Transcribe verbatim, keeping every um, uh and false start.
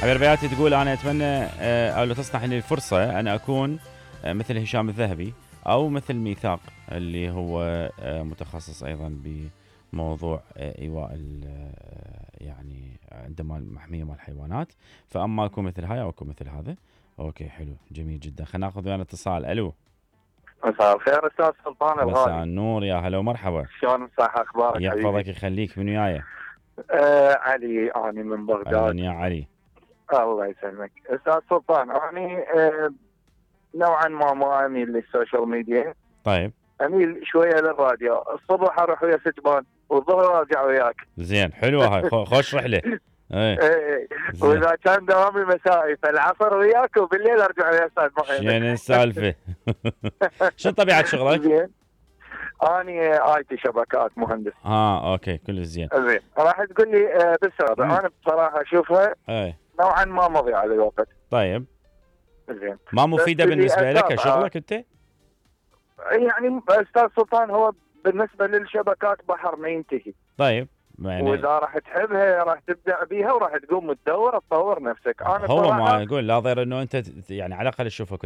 حبيب ربيعاتي تقول أنا أتمنى آه، أو لو تصنح لي الفرصة أن أكون آه، مثل هشام الذهبي أو مثل ميثاق اللي هو آه، متخصص أيضا بموضوع آه، إيواء ال- آه، يعني عندما المحمية مال الحيوانات. فأما أكون مثل هاي أو أكون مثل هذا. أوكي حلو جميل جدا. خلينا ناخذ ويانا اتصال. ألو. مساء الخير استاذ سلطان مساء الغالي. النور يا هلا ومرحبا. شلون صح اخبارك يحفظك حبيبي؟ يخليك. من وياي؟ آه علي اني من بغداد. أهلا يا علي. الله يسلمك استاذ سلطان. اني آه نوعا ما ما اميل للسوشيال ميديا. طيب اميل شويه للراديو. الصبح اروح ويا ستبان والظهر ارجع وياك. زين حلوة هاي. خو- خوش رحلة. ايه آه زين. واذا كان دوامي مسائي فالعصر وياك وبالليل ارجع ويا استاذ محمد. شنو السالفة؟ شو طبيعة شغلك؟ زين. اني اي تي شبكات مهندس. اه اوكي كل زين. زين راح تقول لي آه بالسرعه. مم. انا بصراحه اشوفها ايه نوعا ما مضيعه للوقت. طيب زين. ما مفيدة بس بالنسبة اللي لك أتابعه- كشغلك انت؟ يعني استاذ سلطان هو بالنسبه للشبكات بحر ما ينتهي. طيب يعني واذا راح تحبها راح تبدع بيها وراح تقوم تدور تطور نفسك. انا هو صراحه ما يقول لا ضير انه انت ت- يعني على الاقل تشوفك